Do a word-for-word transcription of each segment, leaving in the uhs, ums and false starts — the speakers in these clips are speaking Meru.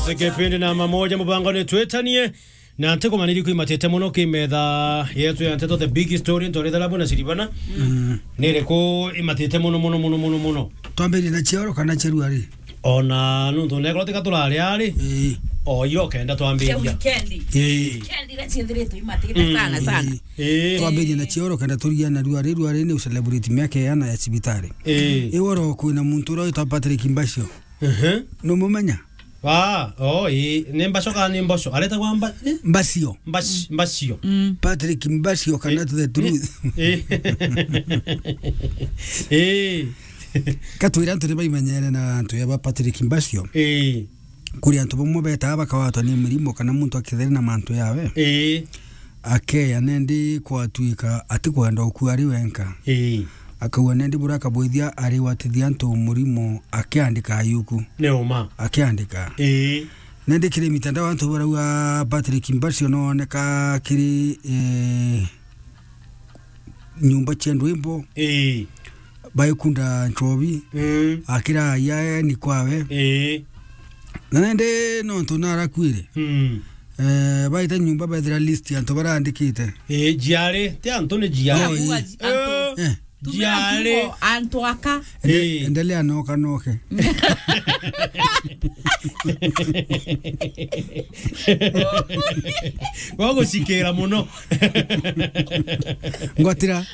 Kipindi namba moja mubangone Twitanie. Na ntikumaniria ku imatite mono ki metha yetu ya nteto, the big story, ntorethera buna Siribana. Mm. Ni iriku imatite mono, mono, mono, mono, mono? Twambirie na cioro kana cia ruari? Ona nuntu nekorwo tiga turari ari, ii, o iyo kenda twambiria. Cia weekend. Ii. Weekend iria ciithiritwe imatite, mm, sana, sana. Ii. Ii. Twambirie na cioro kenda turigia na ruari. Ruari ni ucelebrate miaka iana ya cibitari. Ii. Iworo kwina muntu uria witwa Patrick Mbasio. Ehe. Numumenya? Ah, oh, ii, ni Mbaco kana ni Mboco? Aretagwa Mba-, eh? Mbacio. Mbac-, Mbacio. Mm. Patrick Mbacio kana, eh, to the truth. Eh. Eh. Katwira antu ni baimenyere na antu ya ba Patrick Mbacio. Eh. Kuri antu bamwe betaga bakawatwa ni mirimo kana muntu akitheri na mantu yawe. Eh. Akeya nendi kwatwika atikwenda ukua ari wenka. Ii. Akauga nendi bura akabwithia arigwatithia antu murimo akiandika ayuku. Ni uma. Akiandika. Ii. Nendi kiri mitandao antu barauga Patrick Mbacio nooneka kiri, eh, nyumba cia ndwimbo. Ii. Baikunda nchobi. Mm. Akira aya ni kwawe. Ii. Na nende nontu narakuire. Mm. Eh, baita nyumba bethira list ya antu barandikite. Ii, jiari, ti antu ni jiari. Oh, ii. Antu. Eh. Eh. Tumira jiari. Kiugo, antu aka. Ende-, ii, endelea noka noke. Gwa gucikira muno. Ngwatira.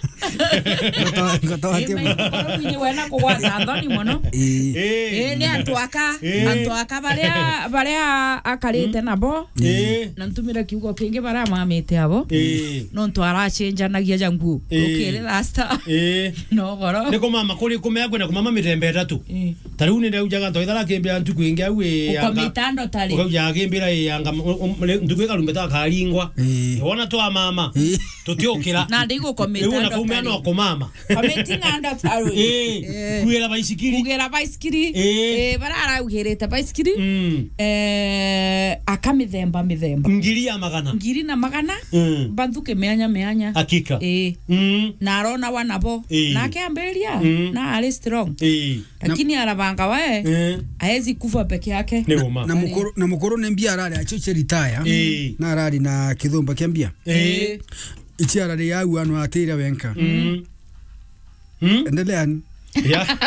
Ngwata-, ngwata watia. Ii, muno. Maikoro kwinyi wena kugwata nthoni muno. Ii. Ii. Ii, ni antu aka, ii, antu aka baria, baria akarite, mm, nabo. Ii. Na ntumire kiugo kingi baria mamite abo. Ii. Nontu aracenjanagia ja nguo. Ii. Ukiri rasta. Ii. No goro. Ni kumama kuri kumea kwina kumama mithemba itatu. Ii. Ta riu ni ndaujaga ntoithara kimbia ntuku ingi au ii, ukomita anga-, ndo tari. Ukauja akimbira ii anga m-, um, ntuku ikarumbeta akaringwa. Ii. Wona twa mama. Ii. Tutiukira. Na ndi gukomita. Riu ona ndo kaumia tari. No kumama. Committing under tari. Ii. Ii. Kugira baisikiri. Kugira baisikiri. Ii. Ii, bara araugirite baisikiri. Mm. Eh, aka mithemba mithemba. Ngiri ya magana. Ngiri na magana. Mm. Banthuke mianya mianya. Hakika. Ii. Mm. Na arona wa nabo. Ii. Nake ambiria. Mm. Na ari strong. Ii. Lakini arabanga we, eh, aezi kufa peke yake. Ni uma. Na, na mukuru, na mukuru ni mbia arari acio cia retire. Ii. Na arari na kithumba kia mbia. Ii. Ici arari au ano atira wenka. Mm. Mm. Endeleani. Ya.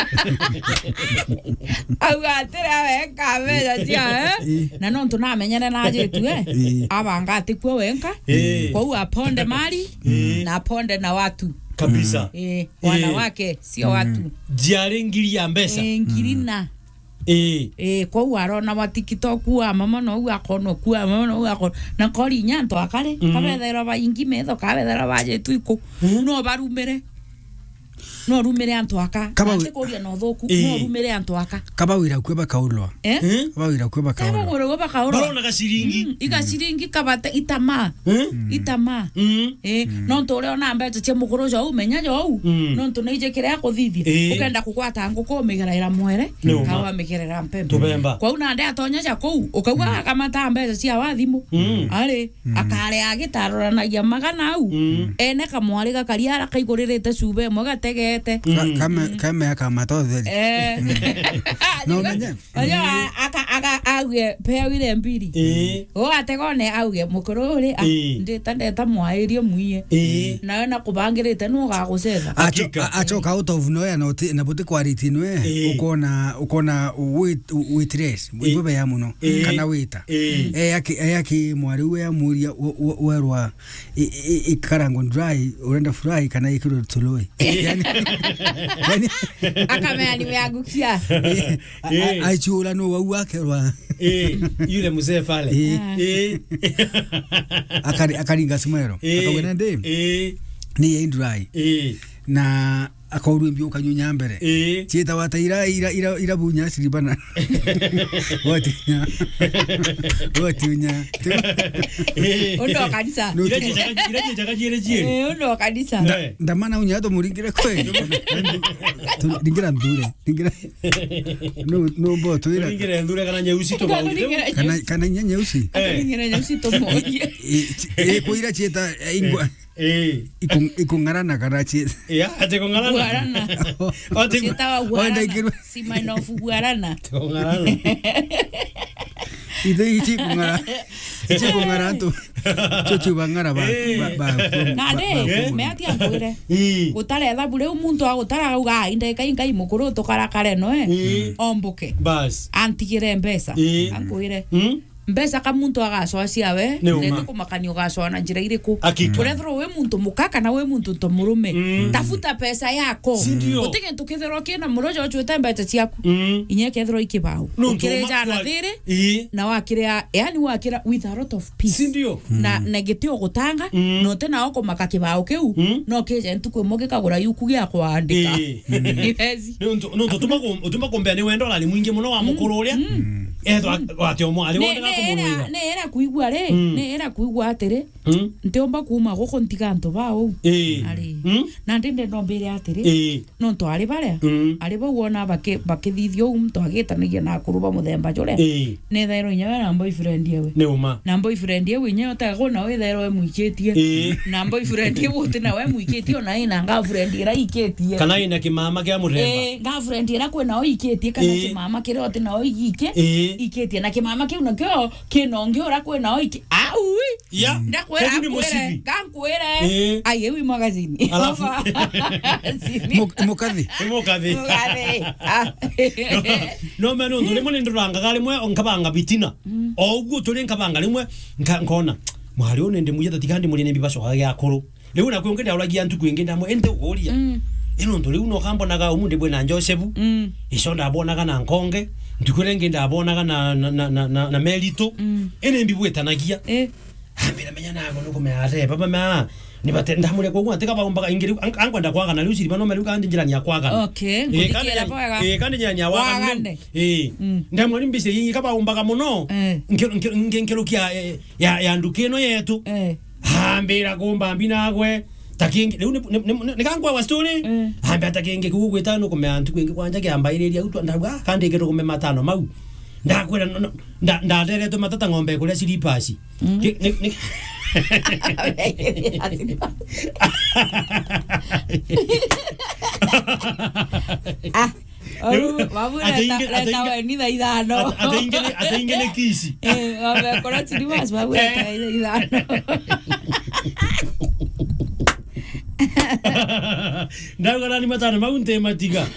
Au atira wenka mbeca cia, eh? Ii. Na nontu namenyere na ajitu, eh? Ii. Abanga atikue wenka. Ii. Kwou aponde mali, ii, na aponde na watu. Kabisa. Mm. Eh, wanawake, sio watu. Jiari ngiri ya mbeca. Eh, ngiri na. Eh. Eh, kwou arona wa TikTok, wa mama no u akona, ku wa mama no u akona. Na kori inya antu akare, mm, kabethairwa baingi metho, kabethairwa bajitu iku. Mm. No barumire. No rumire antu aka. Kaba wi- Ati kuria na uthuku, eh, no rumire antu aka. Kaba wira kwe bakaulwa. Eh? Eh? Kaba wira kwe bakaulwa. Kaba wira kwe bakaulwa. Barona gaciringi. Mm, igaciringi kabate itama. Eh? Itama. Mm. Eh, mm, nontu uria ona mbeca cia mukuru jo umenya jo u. Mm. Nontu ni ije kiria kuthithia. Eh. Ukenda kugwata nguku umigeraira mwere, ni uma, kawa migerera mpembe. Tubemba. Kwou nande atonya ja kuu, ukauga, mm, akamata mbeca cia wathimu. Mm. Ari, mm, akare agitaroranagia magana au. Mm. Ene kamwari gakari ara kaiguririte cuba imwe gategete. Ka-, mm, kame-, kame akamata utheri. Eh. Mm. No menye. Oyo a-, aka-, aka-, auge, "Peawire mbiri." Ii. O ategone auge, "Mukuru uri, ah, ii, ndita ndeta mwairie mwiye." Ii. Nawe na kubangirite nu ugagucetha. Acho-, hakika, a-, acoka out of nowhere na uti-, na buti kwaritie nwe, ii, ukona, ukona wit-, waitress, ii, ibo beya muno, ii, kana waiter. Ii. E aki-, e aki mwari uwe amuria, we-, we-, werwa, i-, i-, ikarangwa dry, urenda fry, kana ikirwe tului. Yani, yani, akamea nimeangukia. A-, a-, eh, aichura no wau akerwa. Eh, yule mzee pale. Eh. Ah. Eh. Akari-, akaringa smero. Eh. Akawena ndi. Eh. Ni ya dry. Eh. Na akaurwa mbio kanyunya mbere. Eh. Chieta wata ira, ira, ira, ira bunya siribana. Watinya. Watinya. Eh. Undo kanisa. No. Ira chichaka, ira chichaka chiere chiere. Eh, undo kanisa. Nda-, eh, ndamana unya to muringire kwe. Tu-, ringira ndure. Ringira. No, no bo twira. Ringire ndure kana nyeusi to mauge. Kana, kana inya nyeusi. Eh. Ringire nyeusi to mauge. Eh, eh, kwira chieta, eh, ingwa. Eh. Iku-, ikung'arana kana chi-, ya, ati kung'arana. Guarana. Ati ku-, chieta wa guarana. Wenda ikirwe. Sima inofu guarana. Kung'arana. Ithe ichi kung'ara. Ichi kung'ara tu. Chuchu bang'ara ba, eh, ba, ba, ba, nandi, ba, eh, meatia nkwire. Ii. Gutare ethabu riu muntu agutara auga, "Ai, ndeka inkai mukuru tukarakare noe." Ii. Ombuke. Bas. Antigire mbeca. Ii. Ankwire. Mm. Mbeca ka muntu agacoa ciawe, ni uma. Nende kumakania ugacoa na njira iriku? Hakika. Urethirwa wi muntu muka kana wi muntu nto murume. Mm. Tafuta pesa yako. Si ndio? Guti gintu kethirwa kina murojo ochuite mbeca ciaku. Mm. Inya kethirwa ikibau. Nuntu ukirejana thiri, ii, na wakiria, yani wakira with a lot of peace. Si ndio? Na, mm, na gitio gutanga, mm, na uti nao kumaka kibao kiu, mm, no kije ntuku imwe gikagura yuku gia kwandika. Ii. Ni bezi. Nuntu, nuntu utuma ku-, utuma kumbea ni wendo urari mwingi muno wa, mm, mukuru uria. Mm. Ethwa, mm, wate umwe ari wonde gakumurwira. Ni ira kuigua ri, mm, ni ira kuigua atiri, mm, ntiumba kuuma guku ntiga antu ba uu. Ii. Ari. Mm. Na ndi ndenda umbire atiri, ii, nontu ari baria, mm, ari bau wona baki-, bakithithia uu muntu agitanagia na akuru ba muthemba juria. Ii. Nethairwa inya we na boyfriend ewe. Ni uma. Na boyfriend ewe inya utagwo na withairwa we mwikitie. Ii. Na boyfriend ewe uti na we mwikitie, ona ina girlfriend ira ikitie. Kana ina kimama kia muthemba. Ii, girlfriend ira kwi nao ikitie, kana, ii, kimama kiria uti nao igikie, ii, ikitie. Na kimama kiu nakio kina ungi ura kwi nao iki-, au, ii. Ya, ndakwira, kuu ni akwire, mucibi. Ngankwire. Ii. Ai, ewi magazini. Alafu. Magazini. Muk-, mukathi. Ni mukathi. Mukathi. Ah. No, no, me nuntu rimwe ni ndurangaga rimwe nkabanga bitina. Mm. O uguo turi nkabanga rimwe nka-, nkona, "Mwari uyu ni ndimwija tatiga ndimurie ni mbi bacokaga gia akuru." Riu naku ungi ndauragia ntuku ingi ndamwe, "Indi uguria." Mm. Ino ntu riu no kambonaga umu ndibwe na Josefu. Mm. Ico ndabonaga na Nkonge. Ntuku iria ingi ndabonaga na, na, na, na, na, na Meritu. Mm. Ini mbibwitanagia. Eh. Ambira, "Menya nago nukumea ate, baba ma." Ni bate, ndamure kwa gwa, teka baumbaga ingi riu, an-, ankwenda kwagana riu, siriba no meriu kandi njirani ya kwagana. Okay, eh, kandi kuthikira njirani, bwega. Eh, kandi njirani ya wagana. Wagane. Eh. Mm. Ndamwe ni mbise ingi kabaumbaga muno. Eh. Nki-, nki-, nki-, nkirukia, eh, ya, ya nduka ino yetu. Eh. Ambira kumba mbi nagwe, ta kingi, riu ni, ni, ni, ni, ni kankwa wa story. Eh. Ambira ta kingi kuu gwita nukumea ntuku ingi kwanja kiambairiria u twa, ndauga, "Ah, kandi kirugume matano mau." Ndakwira, no, no, nda-, ndateretwe matata ng'ombe kuria slippers. Mm. Ki-, ni, ni- Ah. Riu, oru, babu, ate reta, ingi, ate reta ingi, weni thaa ithano. Ate, ate ingi ni, ate ingi ni kisi. Eh, ng'ombe kora slippers, babu, reta, eh, weni thaa ithano. Ndauga nani matano mau ntimatiga.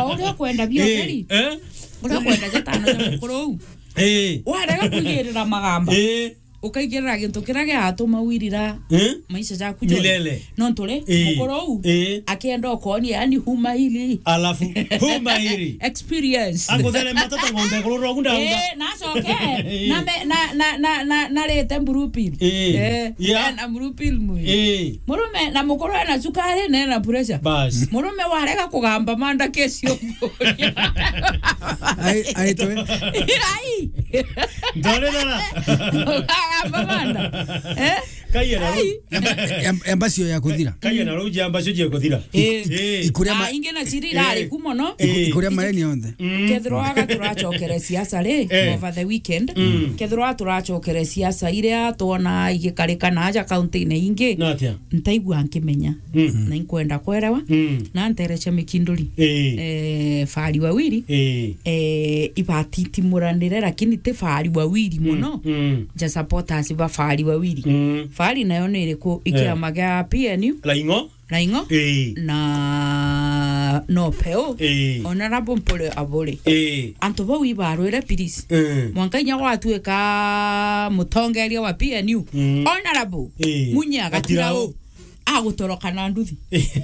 O uria ukwenda bio, eh, Feri. Eh? Uria ukwenda jatano ja mukuru uu. Eh. Warega kwigirira magamba. Eh. Ukaigirira gintu kiria giatuma wirira, eh, maisha jaku jonthe. Milele. Nontu ri, eh, mukuru uu, eh, akienda ukonia, yani, huma hili. Alafu, huma hili. Experience. Akuthere matata ng'ombe kurura ugu ndauga. Eh, nacoke. Eh. Na me-, na, na, na, na, narite blue pill. Eh. Eh, yeah. Na blue pill mwi. Eh. Murume na mukuru ena cukari na ena pressure. Bas. Murume warega kugamba manda kesi umburia. Ai, ai, twe. Ai. Ndorerera. Kugamba manda. Eh? Kaiya na. Ai. Amba, amba, amba cio ya kuthira. Kaiya na ruji amba cio ya kuthira. Eh. Eh. Ikuria ma- Ah, ingi na ciri irari, eh, ku mono. Eh. Iku-, ikuria mareni yonthe. Mm. Kethirwa aga turacokere siasa ri, eh, over the weekend. Mm. Kethirwa turacokere siasa iria twona igikarika na aja kaunti-ini ingi. Na atia? Ntaigua nkimenya. Mm. Na inkwenda kwerewa. Mm. Na nterecia mikinduri. Eh. Eh, Fahari Wawiri. Eh. Eh, ibatitimuranire, lakini ti Fahari Wawiri, mm, muno. Mm. Ja supporters ba Fahari Wawiri. Mm. Fahari nayo ni iriku? Ikiama, eh, gia P N U. Laing'o. Laing'o. Ii. Na no Peu. Ii. Honorable Mpore Aburi. Ii. Antu bau ibarwire, please. Ii. Mwanka inya gwatuika mutongeria wa P N U. Mm. Honorable. Ii. Munya Gatirau. Gatirau. Agutoroka na nduthi.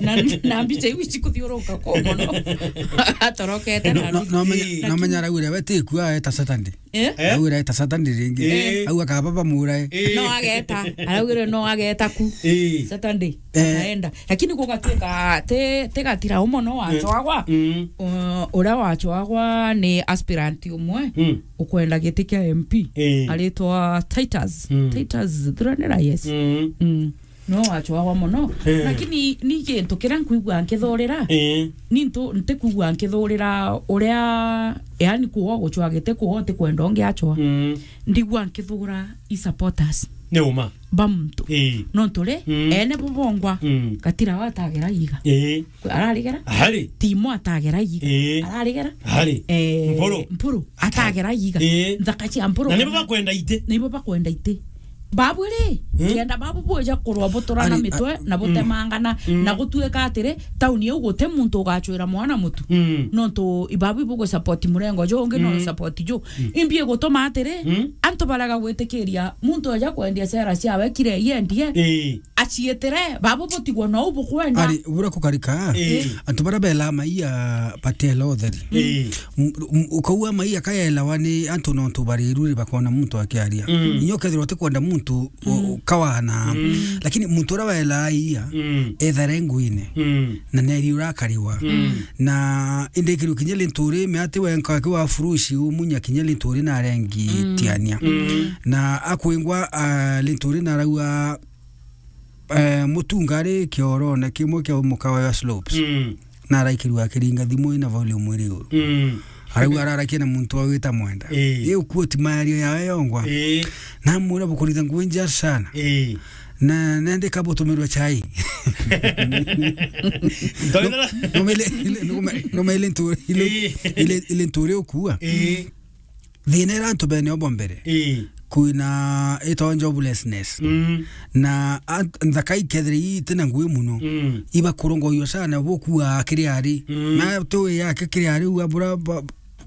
Na, na mbica iu cikuthioruka ku mono. Atorokete na nduthi. No, no, no menya, ii, no menya araugire we ti kua eta Saturday. Eh? Eh? Araugire eta Saturday ringi. Eh. Au akaba bamurae. Eh. No ageta. Araugire no ageta ku. Eh. Saturday. Eh. Akaenda. Lakini gugatuika ti, ti Gatirau mono wachwagwa. Mm. U-, uria wachwagwa ni aspirant umwe, mm, ukwenda giti kia M P. Eh. Aritwa Titus. Mm. Titus Thuranira, yes. Mm. Mm. No wachwagwa mono. Eh. Lakini ni gintu kiria nkwigua nkithurira. Eh. Ni ntu-, ntikwigua nkithurira uria, yani, kuo guchwa giti kuo ti kwenda ungi achwa. Mm. Ndigua nkithura i supporters. Ni uma. ba muntu. Ii. Nontu ri, Mm. ene bo bongwa, Mm. Gatira wa atagera iga. Ii. Ararigera? Hari. Timo atagera iga. Ii. Ararigera? Hari. Eh, Mpuru. Mpuru atagera iga. Ii. Nthaka cia Mpuru. Na nibo kana bakwenda iti. Nibo bakwenda iti. Babu ri, Mm. kenda babu buja kurwa buturana Ari, mitwe a-, na Mm. butemangana Mm. na gutuika atiri, tauni iu guti muntu ugachwira mwana mutu. Mm. Nontu ibabu ibugu support murengo ju ungi no Mm. support ju. Mm. Imbi gutuma atiri, Mm. antu barega gwitikiria muntu aja kwendia sera ciawe kire yendie. Ii. Aciitire, babo butigwo no bukwenda. Ari, bura kukarika, Ii. antu bara bela maia batela utheri. Ii. M-, m-, ukaua maia kayelawa ni antu nontu bariru ri bakona muntu akiaria. Mm. Inyo kethirwa utikwenda muntu u-, Mm. ukawana. Mm. Lakini muntu ura wela aia, Mm. ethare nguine. Mm. Na neri urakariwa. Mm. Na indi kiru kinya linturi me ati wenka kiwa furushi umunya kinya linturi na rengi Mm. tiania. Mm. Na akwingwa, ah, linturi na raua, eh, mutunga ari kiorone kimwe kia mukawa ya slopes. Mm. Na araikirwa akiringa thimu ina volume iri uru. Mm. Arauga ararakia na muntu wa wita mwenda. Ii. Iu quote mayario yawe yongwa. Ii. Na mwira bukuritha nguo nja sana. Ii. Na nende kabutumirwa chai. Ndoira. No, no mele, no mele, no mele ntu-, ile, Ii. ile, ile nturi ukua. Ii. Thina ira antu bene obo mbere. Ii. Kwina ito joblessness. Mm. Na a-, nthaka ikethire itina ngugi muno. Mm. Iba kurongoywa sana bukua kiri ari. Mm. Na tu yake kiri ari u abura ba-,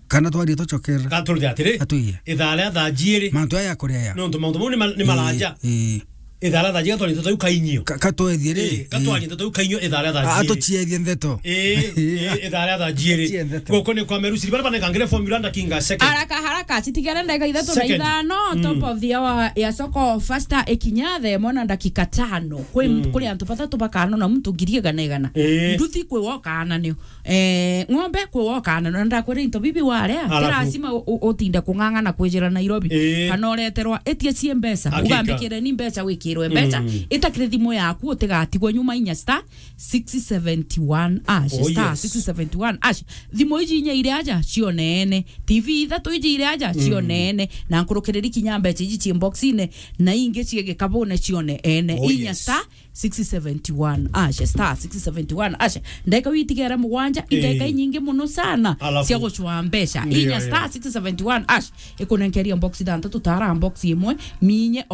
kana twarie tucokera. Gaturi atiri. Atuiye. Ithaa ria thaa jiiri. Mantu aya kuria. Nontu mauntu mau ni ma-, ni Ii, maraja. Ii. Ithaa ria thaa jiiri gatwarie nteto iu kainyio. Ka-, katwethie ri? Ii, gatwarie nteto iu kainyio ithaa ria thaa A-, jiiri. Atuciethie ntheto. Ii, ii, ithaa ria thaa jiiri. Atuciethie ntheto. Guku ni kwa Meru Siri, bara banekangire formula ndakinga second. Haraka, haraka, citigere ndagika ithatu na Second. ithano, Mm. top of the hour ya soko, faster ikinya, the mwana ndakika tano. Kwi, Mm. kuri antu bathatu bakano na muntu ngiri igana igana. Ii. Nduthi kwi woka na nio. Eh, ng'ombe kwi woka na, na ndakwira into bibi warea, ti Alafu. lazima u-, u-, utinde kung'ang'ana kwijira Nairobi. Ii. Kana ureterwa, itia cie mbeca, Hakika. ugambikire ni mbeca wikirwe mbeca, Mm. itakire thimu yaku utigatigwe nyuma inya star six seventy one hash, Oh, star yes. six seventy one hash. Thimu iji inya iri aja cioneene, T V ithatu iji iri aja Mm. cioneene, na nkurukiriri kinya mbeca iji cie boxine, na ingi cie gikabune cioneene. Oh, Inya yes. star six seventy one hash, star six seventy one hash. Ndagika witigere mugwanja, Ii. indagika inyingi muno sana Alafu. cia gucwa mbeca. Ndio, Inya ndio. star six seventy one hash, ikunenkeria box ithantatu, tara box imwe, minye o